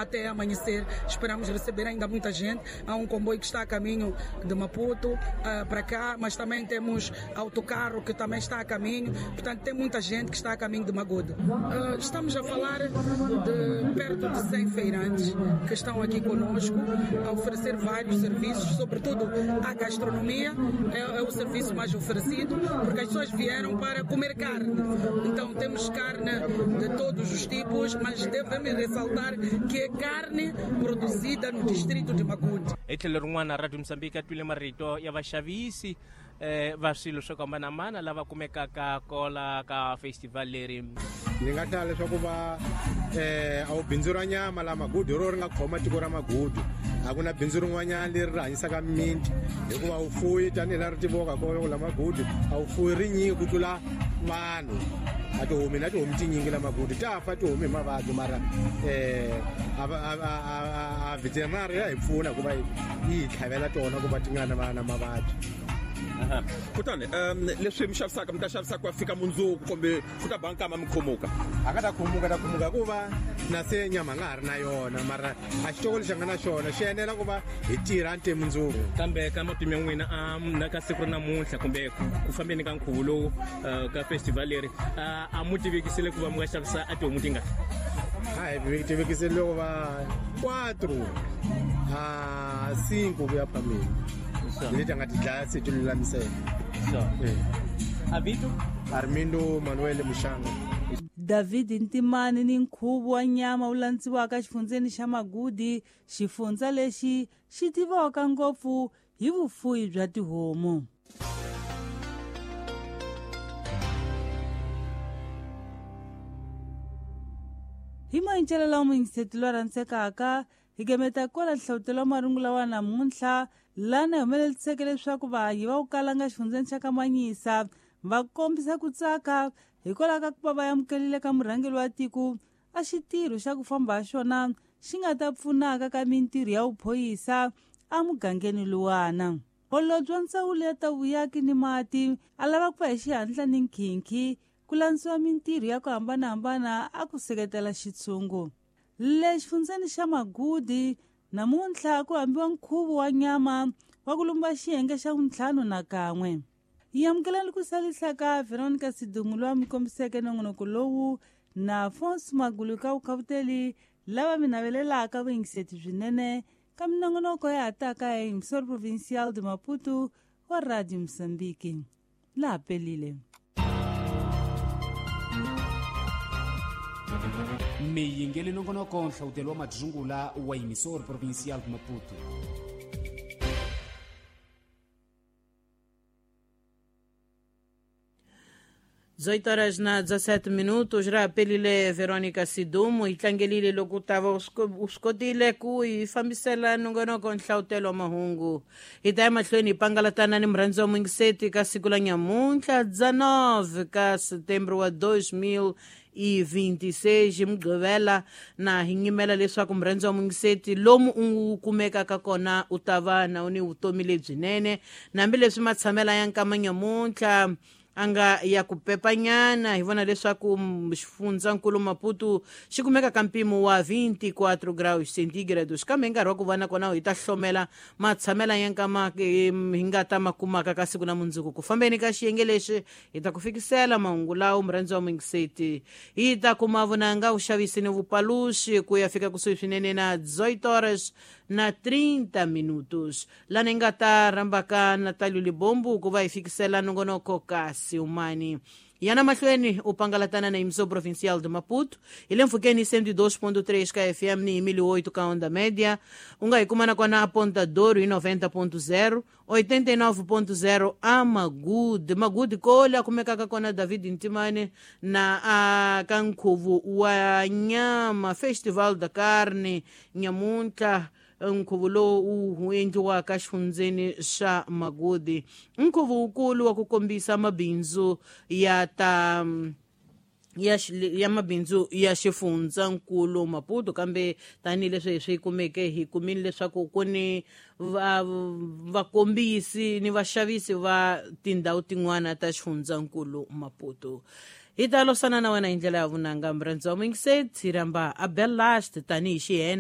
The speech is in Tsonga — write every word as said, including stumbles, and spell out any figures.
Até amanhecer, esperamos receber ainda muita gente. Há um comboio que está a caminho de Maputo uh, para cá, mas também temos autocarro que também está a caminho. Portanto, tem muita gente que está a caminho de Magude. Uh, estamos a falar de perto de cem feirantes que estão aqui conosco a oferecer vários serviços, sobretudo a gastronomia é, é o serviço mais oferecido, porque as pessoas vieram para comer carne. Então, temos carne de todos os tipos, mas devemos ressaltar que é carne produzida no distrito de Magude. Hi tlhelo rin'wana Radio Mozambique ya twile marito ya vaxavisi eh va swilo swo hambanahambana lava kumekaka kola ka festival leri. Ni nga hlaya leswaku va eh a wu bindzu ra nyama la Magudu ro ri nga khoma tiko ra Magudu. A ku na bindzu rin'wanyana leri ri hanyisaka mimiti hikuva wu fuyi tanihi laha ri tiviwaka kona ku la Magudu a wu fuyi rinyingi ku tlula vanhu. A tihomi na tihomi tinyingi la Magudu ta fa tihomi hi mavabyi mara eh a a a veterinary ya hi pfuna ku va yi hi tlhavela tona ku va ti nga na na mavabyi. Aha. Kutani um leswi mi xavisaka mi ta xavisa ku ya fika mundzuku kumbe ku ta ba nkama mi khomuka? A ka ta khomuka ta khomuka hikuva na se nyama nga ha ri na yona mara a xitoko lexi nga na xona xi enela ku va hi tirha nte mundzuku. Kambe ka matimu ya n'wina a na ka siku ra namuntlha kumbe ku fambeni ka nkhuvo lowu ka festival leri a mu tivekisile ku va mi nga xavisa a tihomu tingani? A hi tivekisile loko va quatro a cinco ku ya phambili. Leti nga ti dlaya se ti lulamisela. Avito Armindo Manuel Mushanga. David Ntimani ni nkhuvo wa nyama wu landziwaka exifundzeni xa Magudi, xifundza lexi xi tiviwaka ngopfu hi vufuwi bya tihomu. Hi mayincelo lawa muyingiseti loyi rhandzekaka hi gemeta kwala nhlavutelo wa marungula wa namuntlha lana hi humeleliseke leswaku vahayi va ku kalanga xifundzeni xa Kamanyisa va kombisa ku tsaka hikwalaho ka ku va va amukelile ka murhangeri wa tiko a xitirho xa ku famba ha xona xi nga ta pfunaka ka mintirho ya vuphoyisa emugangeni luwana. Holobye wa ndzawulo ya ta vuyaki ni mati a lava ku va hi xihatla ni nkhinkhi ku landziwa mintirho ya ku hambanahambana a ku seketela xitshungu. Le xifundzeni xa Magudi namuntlha ku hambiwa nkhuvo wa nyama wa ku lumba xiyenge xa vuntlhanu na kan'we. Hi amukelani ku salisa ka Veronica Sidumu loyi a mi kombiseke nongonoko lowu na Afonso Magulu ka vukhavuteli lava mi navelelaka vuyingiseti byinene ka minongonoko ya ha taka ya Emissora Provincial de Maputo wa Radio Mozambique. Laha pelile. Mi yingele nongonoko nhlawutelo wa madzungula wa Emissora Provincial de Maputo. dezoito horas na dezassete minutos, rapelile Veronica Sidumo hi tlangelile loko ta va u swi kotile ku hi fambisela nongonoko nhlawutelo wa mahungu. Hi ta ya mahlweni hi pangalatana ni murhandzi wa muyingiseti ka siku la nyamuntlha dezenove ka setembro wa dois mil e vinte e seis hi Mugqivela, na hi nyimela leswaku murhandzi wa muyingiseti lomu u kumekaka kona u ta va na u ni vutomi lebyinene hambileswi matshamela ya nkama nyamuntlha a nga ya ku pepanyana. Hi vona leswaku xifundzankulu Maputo xi kumeka ka mpimo wa vinte e quatro graus centígrados, kambe hi nkarhi wa ku va na kona hi ta hlomela matshamela ya nkama hi nga ta ma kumaka ka siku na mundzuku. Ku fambeni ka xiyenge lexi hi ta ku fikisela mahungu lawo murhandzi wa muyingiseti. Hi ta kuma vunanga vuxavisi ni vupaluxi ku ya fika kusuhi swinene na dezoito horas na trinta minutos, lana hi nga ta rhambaka Natalio Libombo ku va hi fikisela nongonoko ka Silmani. Yana mahlweni u pangalatana na Emissora Provincial de Maputo hi le mpfhukeni cento e dois ponto três ka F M ni mil e oito ka onda média. U nga hi kuma na kona a Ponta Douro hi noventa ponto zero, oitenta e nove ponto zero a Magude. Magude kole a kumekaka kona David Ntimane na a ka nkhuvo wa nyama Festival da Carne nyamuntlha, nkhuvo lowu wu endliwaka xifundzeni xa Magudi, nkhuvo wukulu wa ku kombisa mabindzu ya ta ya ya mabindzu ya xifundzankulu Maputo. Kambe tanihileswi hi swi kumeke hi kumile leswaku ku ni va vakombisi ni vaxavisi va tindhawu tin'wana ta xifundzankulu Maputo. Hi ta losana na wena hi ndlela ya vunanga murhandzi wa muyingiseti, hi rhamba Abel Last tanihi xihena.